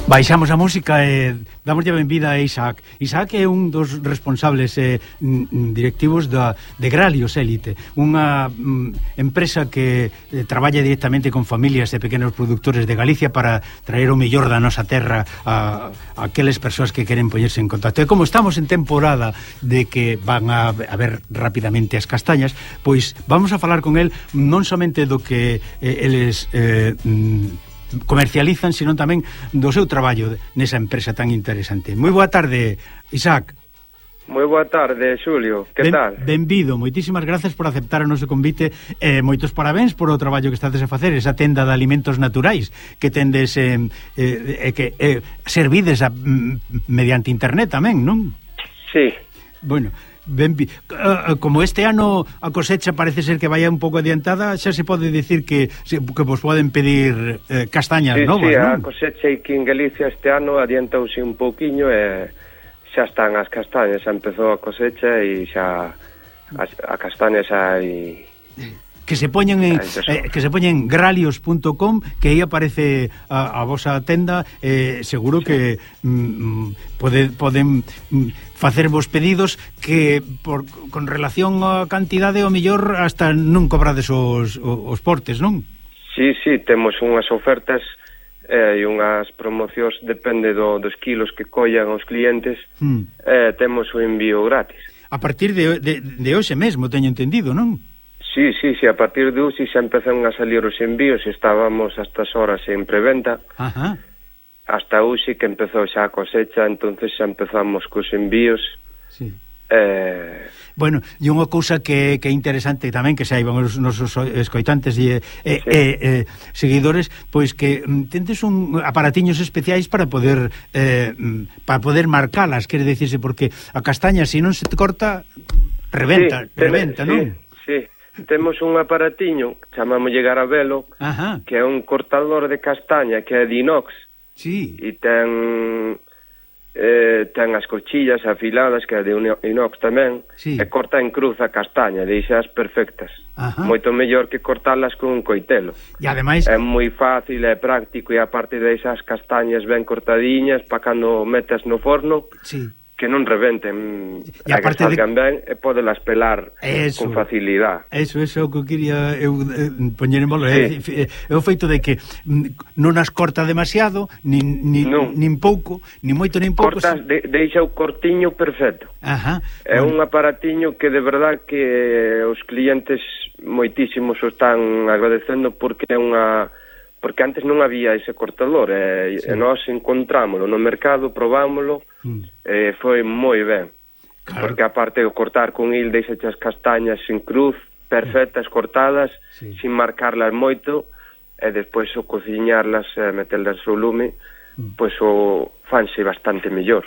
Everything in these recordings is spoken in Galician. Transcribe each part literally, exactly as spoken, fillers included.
Baixamos a música e damos a benvida a Isaac. Isaac é un dos responsables eh, directivos da, de Gralios Élite, unha mm, empresa que eh, traballa directamente con familias e pequenos productores de Galicia para traer o mellor da nosa terra a, a aqueles persoas que queren poñerse en contacto. E como estamos en temporada de que van a, a ver rapidamente as castañas, pois vamos a falar con el non somente do que eh, eles eh, mm, comercializan, sino tamén do seu traballo nesa empresa tan interesante. Moi boa tarde, Isaac. Moi boa tarde, Xulio. Que ben, tal? Benvido, moitísimas gracias por aceptar o noso convite e eh, moitos parabéns por o traballo que estades a facer, esa tenda de alimentos naturais que tendes eh, eh, que eh, servides a, mm, mediante internet tamén, non? Sí. Bueno, ben, uh, como este ano a cosecha parece ser que vaya un pouco adiantada, xa se pode decir que, que vos poden pedir eh, castañas sí, novas, sí, non? Sí, a cosecha aquí en Galicia este ano adiantouse un pouquiño e xa están as castañas, xa empezou a cosecha e xa a, a castaña xa hai... Que se poñen en eh, que se poñen gralios punto com, que aí aparece a, a vosa tenda, eh, seguro sí. que mm, pode, poden mm, facervos pedidos que por, con relación á cantidade o mellor hasta non cobrades os, os portes, non? Sí, sí, temos unhas ofertas e eh, unhas promocións, depende do, dos kilos que collan os clientes, mm. eh, temos o envío gratis. A partir de, de, de hoxe mesmo, teño entendido, non? Sí, sí, sí, a partir de hoxe xa empezan a salir os envíos, estábamos a estas horas en preventa. Ajá. Hasta hoxe que empezou xa a cosecha, entonces xa empezamos cos envíos. Sí. Eh... Bueno, e unha cousa que, que é interesante tamén, que saiban os nosos escoitantes e, e, sí. e, e seguidores, pois que mm, tendes un aparatiños especiais para poder eh, para poder marcalas, quere dicirse, porque a castaña, se non se te corta, reventa, sí, reventa, sí, non? Sí, temos un aparatiño, chamámoslle Garabelo, Ajá. que é un cortador de castaña que é de inox. Sí. E ten eh, ten as cochillas afiladas que é de inox tamén, sí. E corta en cruz a castaña, deixas perfectas. Ajá. Moito mellor que cortalas con un coitelo. E ademais é moi fácil, é práctico, e aparte deixas castañas ben cortadiñas para cando metas no forno. Sí. Que non rebenten, e a que salgan de... ben e podelas pelar eso, con facilidade. Eso, eso é o que quería eu eh, poñer en valor. Sí. É, é o feito de que non as corta demasiado, nin, nin, non. nin pouco, nin moito nin pouco. Cortas, de, deixa o cortiño perfecto. Ajá. É bueno. Un aparatiño que de verdad que os clientes moitísimos o están agradecendo porque é unha... porque antes non había ese cortador e, sí. e nós encontrámoslo no mercado, probámoslo mm. e foi moi ben, claro. Porque aparte de cortar con il deixa as castañas sin cruz, perfectas, cortadas, sí. Sin marcarlas moito, e despois o cociñarlas e meterlas ao lume, mm. pois o fanse bastante mellor.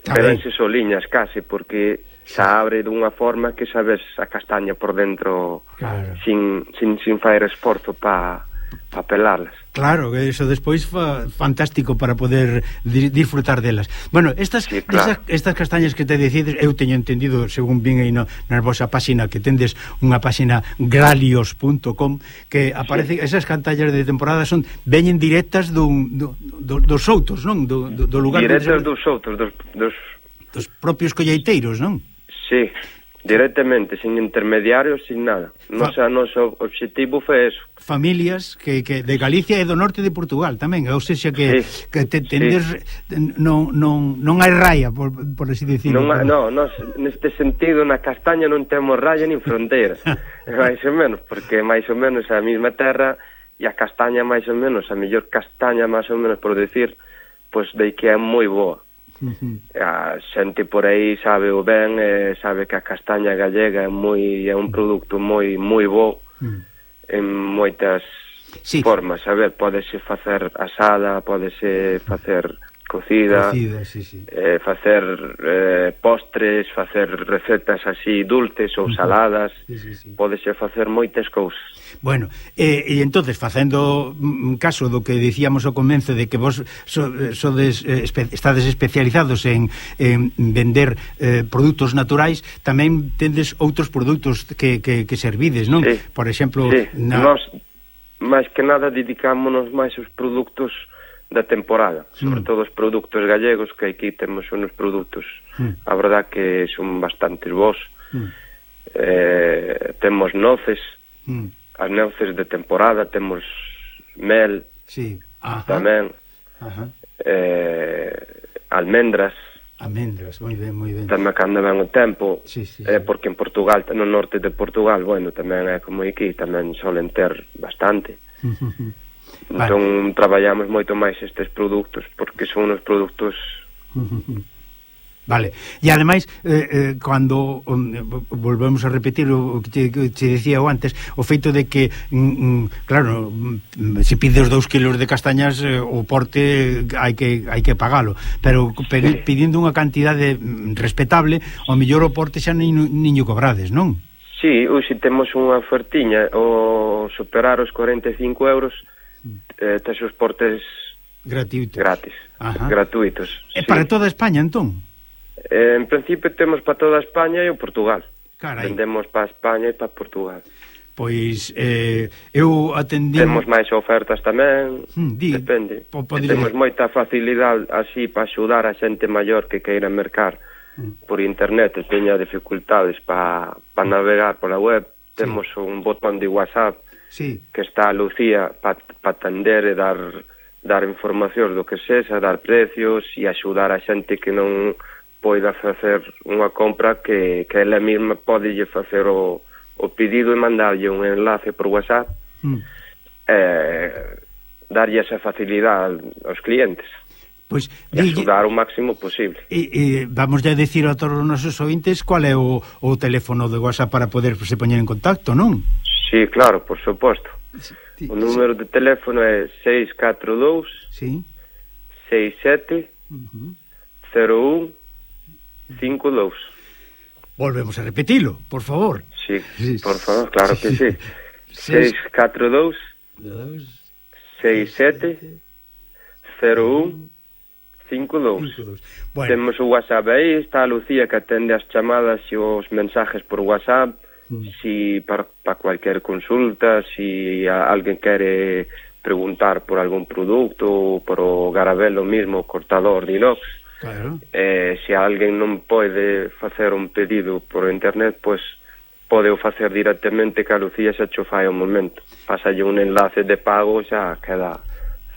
Quedanse soliñas case, porque xa abre dunha forma que sabes a castaña por dentro, claro. sin, sin, sin faer esforzo para pa pelarlas. Claro, eso despois fa fantástico para poder di disfrutar delas. Bueno, estas, sí, claro. estas, estas castañas que te decides, eu teño entendido, según vin aí no, na vosa páxina, que tendes unha páxina gralios punto com, que aparece, sí. Esas cantallas de temporada son veñen directas dun, do, do, dos outros, non? Do, do, do lugar directas dos outros, dos, dos... dos propios colleiteiros, non? Sí, directamente, sin intermediarios, sin nada. Nosa, noso obxectivo foi eso. Familias que, que de Galicia e do norte de Portugal tamén, ou seja que, sí, que te, tendes, sí. non, non, non hai raya, por, por así decirlo. Non, no, nos, neste sentido, na castaña non temos raya nin fronteira, máis ou menos, porque máis ou menos a mesma terra e a castaña máis ou menos, a mellor castaña máis ou menos, por decir, pois de que é moi boa. Uh-huh. A xente por aí sabe o ben, eh, sabe que a castaña gallega é moi é un produto moi moi bo uh-huh. en moitas sí. formas, a ver, pódese facer asada, pódese facer cocida, cocida sí, sí. Eh, facer eh, postres, facer recetas así dulces ou uh-huh. saladas, sí, sí, sí. Pódese facer moitas cousas. Bueno, eh, e entonces facendo un caso do que dicíamos ao comenzo de que vos so, sodes, eh, espe, estades especializados en, en vender eh, produtos naturais, tamén tendes outros produtos que, que, que servides, non? Sí. Por exemplo, sí. na... Nos, máis que nada dedicámonos máis aos produtos da temporada, sobre mm. todo os produtos galegos, que aquí temos uns produtos, mm. a verdad que son bastante bons. Mm. Eh, temos noces, mm. as noces de temporada, temos mel, sí. Ajá. tamén, Ajá. Eh, almendras, almendras, moi ben, moi ben. Tamén cando ven o tempo, sí, sí, eh, sí. porque en Portugal, no norte de Portugal, bueno, tamén é como aquí, tamén solen ter bastante. Entón, vale. Traballamos moito máis estes produtos, porque son uns produtos... Vale, e ademais eh, eh, cando um, volvemos a repetir o que te, que te decía eu antes, o feito de que mm, mm, claro, mm, se pides dous kilos de castañas, eh, o porte hai que hai que pagalo, pero sí. Pidindo unha cantidade respetable, ao mellor o porte xa nin, niño cobrades, non? Sí, hoxe temos unha ofertiña, o superar os cuarenta e cinco euros, eh, tes os portes gratuitos, gratis, gratuitos. E sí. Para toda España, entón? Eh, en principio temos para toda España e o Portugal. Carai. Vendemos para España e para Portugal. Pois eh, eu atendí... Temos máis ofertas tamén, hmm, di, depende. Po, temos moita facilidade así para axudar a xente maior que queira mercar hmm. por internet e teña dificultades para pa navegar pola web. Sí. Temos un botón de WhatsApp sí. que está a Lucía para pa atender e dar, dar informacións do que sexa, dar precios e axudar a xente que non poida facer unha compra, que, que ela mesma pode facer o, o pedido e mandarlle un enlace por WhatsApp, mm. eh, darlle esa facilidade aos clientes, pois, e axudar o máximo posible. E, e vamos a decir a todos os nosos ointes cual é o, o teléfono de WhatsApp para poder se poñer en contacto, non? Sí, claro, por suposto. Sí, o número sí. de teléfono é seis catro dous sí. seis sete cero un cinco dous. Volvemos a repetilo, por favor. Sí, por favor, claro que sí. seis catro dous seis sete cero un cinco dous. Bueno. Temos o WhatsApp aí, está a Lucía que atende as chamadas e os mensajes por WhatsApp, mm. si para pa cualquier consulta, si a, alguén quere preguntar por algún produto ou por o garabelo mismo, cortador de inox. Claro. Eh, se alguén non pode facer un pedido por internet, pois pode o facer directamente, que a Lucía xa cho fai ao momento. Pásalle un enlace de pago, xa queda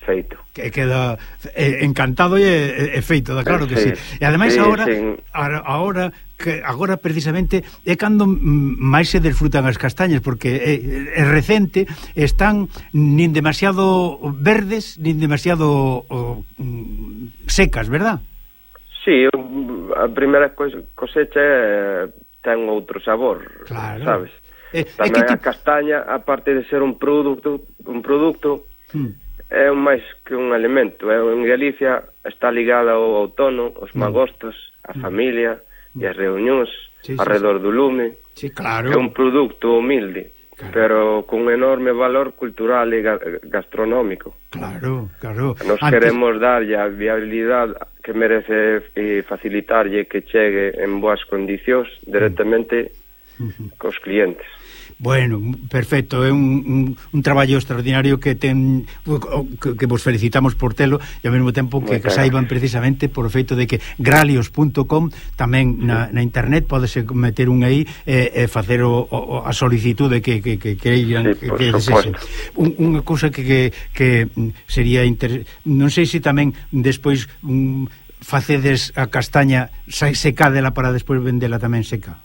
feito. Que queda eh, encantado e, e feito, da claro que sí. sí. E ademais sí, agora, sí. agora que agora precisamente é cando máis se desfrutan as castañas, porque é, é recente, están nin demasiado verdes, nin demasiado oh, secas, verdad? Sí, a primeira cosecha é, ten outro sabor, claro. Sabes? Eh, Tamén a tipo... castaña, aparte de ser un produto, un produto hmm. é máis que un alimento. É, en Galicia está ligada ao outono, aos magostos, a hmm. familia hmm. e as reunións sí, alrededor sí, sí. do lume. Sí, claro. É un produto humilde, claro. Pero con un enorme valor cultural e gastronómico. Claro, claro. Nos Antes... queremos darlle a viabilidade que merece e facilitarlle que chegue en boas condicións directamente uh-huh. cos clientes. Bueno, perfecto, é un, un, un traballo extraordinario que ten que, que vos felicitamos por telo e ao mesmo tempo que, que saiban precisamente por o feito de que gralios punto com tamén na, na internet podese meter un aí e, e facer o, o, a solicitude que que que queiran sí, que, que desexen. Un, unha cousa que, que, que sería inter... non sei se tamén despois um, facedes a castaña secádela para despois vendela tamén seca.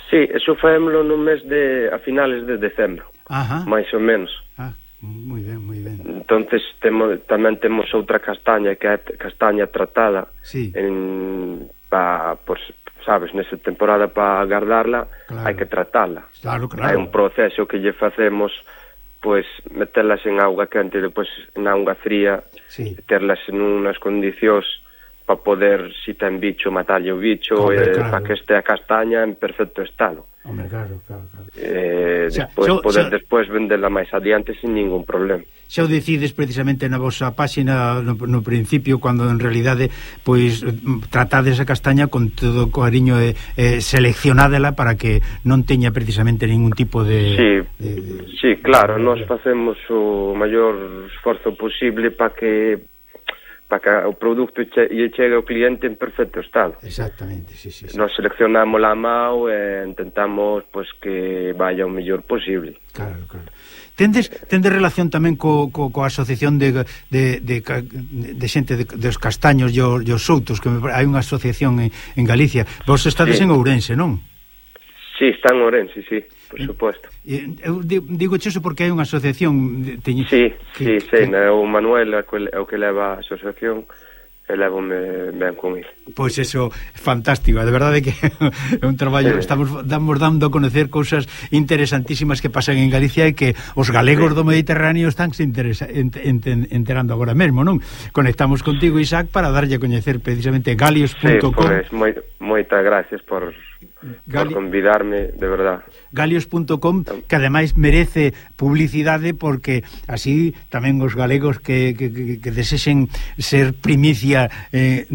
Sí, eso faémolo no mes de a finales de decembro. Ajá. Mais ou menos. Ah, moi ben, moi ben. Entonces temos tamén temos outra castaña que é castaña tratada. Sí. En pa por sabes, nesa temporada para guardarla, claro. Hai que tratarla. Claro, claro. Hai un proceso que lle facemos, pois metelas en auga quente e depois en auga fría, sí. Terlas en unas condicións para poder, si ten bicho, matarlle o bicho, Hombre, e claro. Para que este a castaña en perfecto estado. Hombre, claro, claro, claro. Eh, o sea, despois so, poder so, despois vendela máis adiante sin ningún problema. Xa o decides precisamente na vosa páxina no, no principio, cando en realidade pois tratades a castaña con todo o cariño e eh, seleccionádela para que non teña precisamente ningún tipo de... Sí, de, de sí, claro, nós facemos o maior esforzo posible para que para que o produto che, lle chegue ao cliente en perfecto estado. Exactamente, sí, sí, sí. Nos seleccionamos a mao e intentamos pues, que vaya o mellor posible. Claro, claro. Tendes, tendes relación tamén co, co, coa asociación de, de, de, de xente de, dos castaños e os, os soutos, que me, hai unha asociación en, en Galicia. Vos estades sí. en Ourense, non? Sí, está en Ourense, sí, por suposto. Eu digo xo porque hai unha asociación... Teñi, sí, que, sí, sí, que... o Manuel é o que leva a asociación e levo-me ben con ele. Pois eso, fantástico, de verdade que é un traballo, sí. estamos damos dando a conocer cousas interesantísimas que pasan en Galicia e que os galegos sí. do Mediterráneo están se interesa, ent, ent, enterando agora mesmo, non? Conectamos contigo, Isaac, para darlle a coñecer precisamente galios punto com. Sí, pois, moi, moitas gracias por... Gali... por convidarme, de verdad. Galios punto com, que ademais merece publicidade porque así tamén os galegos que, que, que, que desexen ser primicia eh,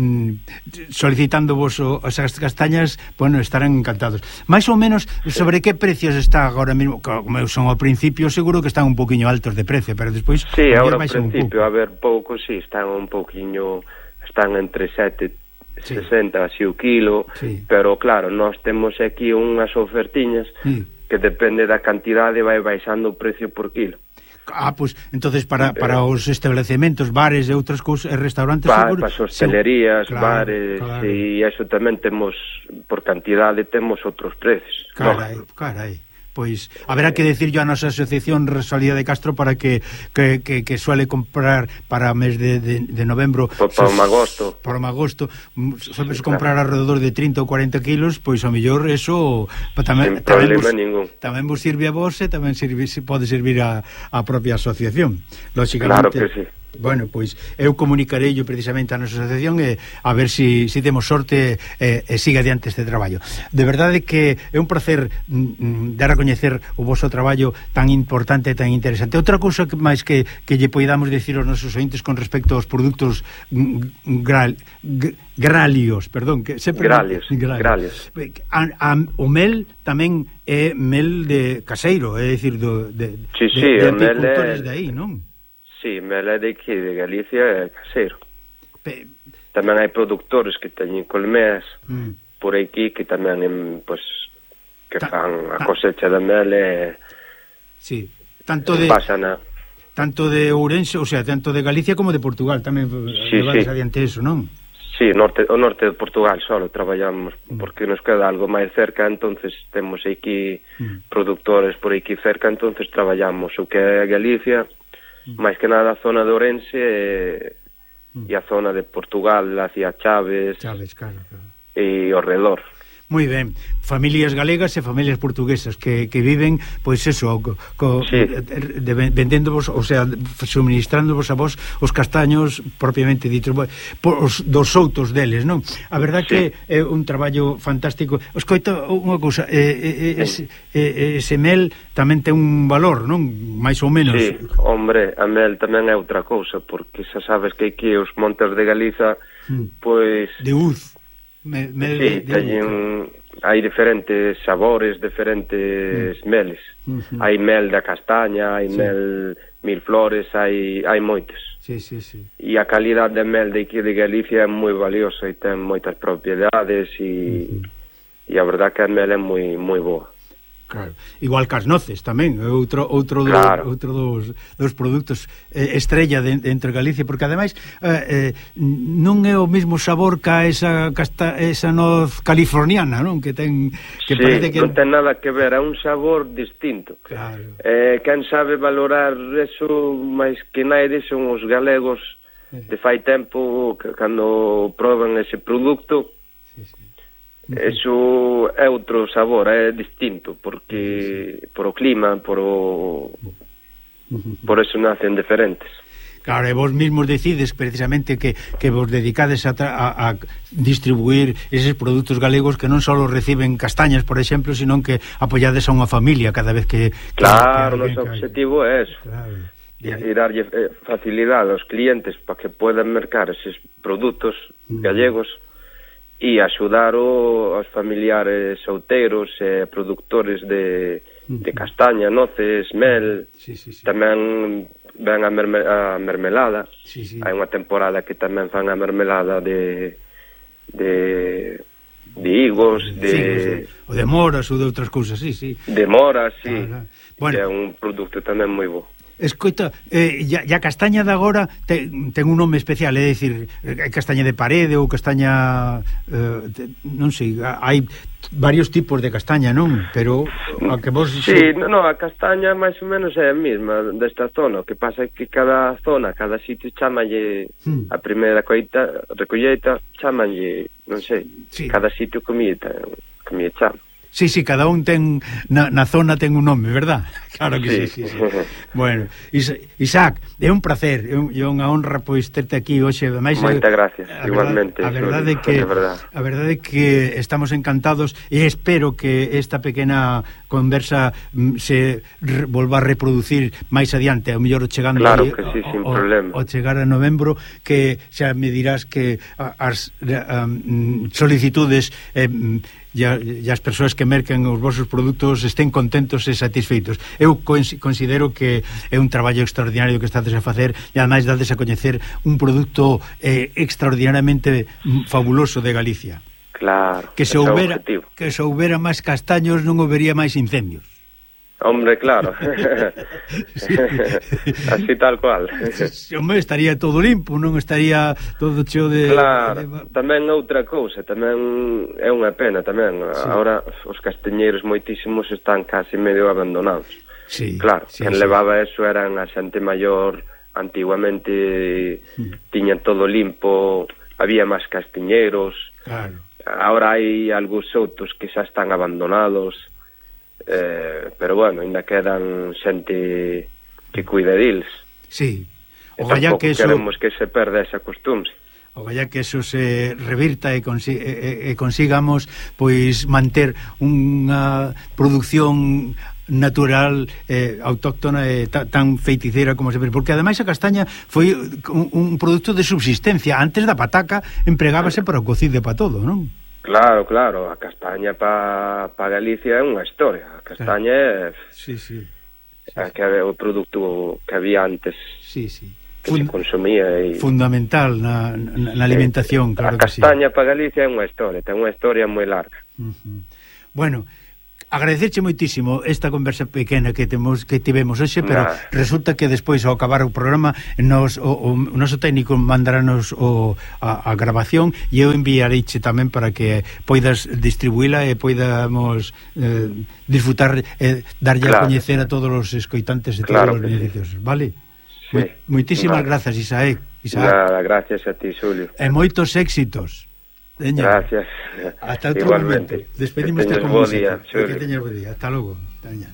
solicitando vos as castañas, bueno, estarán encantados. Mais ou menos, sobre que precios está agora mesmo? Como son ao principio, seguro que están un poquinho altos de precio, pero despois... Sí, agora ao principio, a ver, pouco, sí, están un poquinho, están entre sete sí. sesenta así o kilo, sí. Pero claro, nós temos aquí unhas ofertiñas sí. Que depende da cantidade vai baixando o precio por kilo. Ah, pois, pues, entonces para, para os establecementos, bares e outras cousas, restaurantes... Pa, para as hostelerías, sí. Bares, claro, e iso tamén temos, por cantidade, temos outros precios. Carai, no? carai. Pois haberá que decir yo a nosa asociación Rosalía de Castro para que que, que, que suele comprar para o mes de, de, de novembro para o agosto para o agosto sabes sí, comprar claro. Alrededor de trinta ou cuarenta kilos, pois ao mellor eso tamén, tamén, vos, tamén vos sirve a vos e tamén sirve, pode servir a, a propia asociación, lógicamente. Claro que sí. Bueno, pois eu comunicarei yo precisamente a nosa asociación e a ver se si, si temos sorte e, e siga adiante este traballo. De verdade que é un placer mm, dar a coñecer o vosso traballo tan importante e tan interesante. Outra cousa que máis que, que lle poidamos decir aos nosos ointes con respecto aos produtos gral, gralios, perdón, que sempre gralios, gralios. A, a, o mel tamén é mel de caseiro, é dicir do de, sí, sí, de, de é... apicultores de aí, non? Sí, mel é de aquí, de Galicia, é caseiro. Pe... Tamén hai productores que teñen colmeas mm. por aquí que tamén pues, que ta, fan a cosecha de mel e sí. tanto de pasana. Tanto de Ourense, o sea, tanto de Galicia como de Portugal tamén sí, levades sí. adiante eso, non? Sí, norte, o norte de Portugal solo traballamos mm. porque nos queda algo máis cerca, entonces temos aquí mm. productores por aquí cerca, entonces traballamos o que é Galicia, máis que nada a zona de Ourense e, mm. e a zona de Portugal hacia Chaves, Chaves claro, claro. E ao redor. Moi ben, familias galegas e familias portuguesas que, que viven, pois eso, co, co, sí. de, vendéndovos, o sea, suministrándovos a vos os castaños propiamente dito, os dos soutos deles, non? A verdad sí. Que é un traballo fantástico. Escoita unha cousa, eh, eh, ese, eh, ese mel tamén ten un valor, non? Mais ou menos. Sí, hombre, a mel tamén é outra cousa, porque xa sabes que aquí os montes de Galiza, mm. pois... De uz. Me, me sí, de, de un, hai diferentes sabores, diferentes mm. meles. Mm-hmm. Hai mel da castaña, hai sí. mel mil flores, hai hai moitos. Sí, sí, sí. E a calidade de mel de aquí de Galicia é moi valiosa e ten moitas propiedades e mm-hmm. e a verdad que a mel é moi moi boa. Claro. Igual que as noces tamén, outro outro claro. do, outro dos, dos produtos eh, estrella de, de entre Galicia, porque ademais eh, eh, non é o mesmo sabor que esa casta, esa noz californiana, non? Que ten que sí, parece que non ten nada que ver, é un sabor distinto. Claro. Eh, quen sabe valorar eso máis que naide son os galegos eh. de fai tempo que cando proban ese produto. Sí, sí. Eso é outro sabor, é distinto, porque por o clima, por o por eso nacen diferentes. Claro, e vos mismos decides precisamente que, que vos dedicades a, a, a distribuir eses produtos galegos que non só reciben castañas, por exemplo, sino que apoyades a unha familia cada vez que... Claro, que, que o noso objetivo é eso. Claro. E, e darlle facilidade aos clientes para que podan mercar eses produtos mm. gallegos e axudar o, aos familiares solteiros e productores de, de castaña, noces, mel, sí, sí, sí. Tamén ven a, merme, a mermelada, sí, sí. Hai unha temporada que tamén fan a mermelada de de, de higos, de... Sí, o de moras ou de outras cousas, sí, sí. De moras, sí, ah, bueno. Que é un produto tamén moi bo. Escoita, eh, ya, ya castaña de agora ten, ten un nome especial, é dicir, castaña de parede ou castaña eh, te, non sei, hai varios tipos de castaña, non? Pero a que vos... Sí, no, no, a castaña máis ou menos é a mesma desta zona, o que pasa é que cada zona, cada sitio chamalle hmm. a primeira coita, recolleita, chamalle, non sei, sí. Cada sitio comida, comida chama. Sí, sí, cada un ten na, na zona ten un nome, verdad? Claro que sí, sí, sí, sí. Bueno, Isaac, é un placer, é, un, é unha honra pois terte aquí hoxe. Moitas gracias, a igualmente. A verdade é que a verdade é que estamos encantados e espero que esta pequena conversa se volva a reproducir máis adiante, ao mellor chegando claro aí, que sí, o, sin o, problema. O chegar a novembro, que xa me dirás que as um, solicitudes eh, e as persoas que merquen os vosos produtos estén contentos e satisfeitos. Eu considero que é un traballo extraordinario que estades a facer e ademais dades a coñecer un produto eh, extraordinariamente fabuloso de Galicia. Claro, que se houbera que se houbera máis castaños non houbería máis incendios. Hombre, claro. Sí. Así tal cual. Hombre, estaría todo limpo, non estaría todo cheo de... Claro, de... tamén outra cousa, tamén é unha pena tamén. Sí. Ahora os castañeiros moitísimos están casi medio abandonados. Sí, claro, sí, quen sí. levaba eso eran a xente maior, antiguamente mm. tiñan todo limpo, había máis castiñeiros. Claro. Ahora hai algúns outros que xa están abandonados. Eh, pero bueno, ainda quedan xente que cuida deles. Sí. E tampouco que eso... queremos que se perda esa costumbre. Ogallá que eso se revirta e, consi e, e consigamos pois manter unha produción natural, eh, autóctona e ta, tan feiticeira como sempre, porque ademais a castaña foi un, un produto de subsistencia. Antes da pataca empregábase para o cocido para todo, non? Claro, claro, a castaña para pa Galicia é unha historia. A castaña é sí, sí, sí, é que é o produto que había antes. Sí, sí. Que Fund se consumía e... fundamental na, na, na alimentación, claro que sí. A castaña sí. para Galicia é unha historia, ten unha historia moi larga. Uh-huh. Bueno, agradecerche moitísimo esta conversa pequena que temos que tivemos hoxe, pero nah. resulta que despois ao acabar o programa nos o, o, o noso técnico mandaranos o, a, a grabación e eu enviareiche tamén para que poidas distribuíla e poidamos eh, disfrutar e eh, darlle claro. a coñecer a todos os escoitantes e claro todos os beneficios, sí. Vale? Sí. Moitísimas vale. grazas, Isaek. Isaac. Nada, gracias a ti, Xulio. E moitos éxitos. Deña. Gracias. Hasta outro momento. Despedimos que teñas bo día, que teñas bo día. Hasta logo. Deña.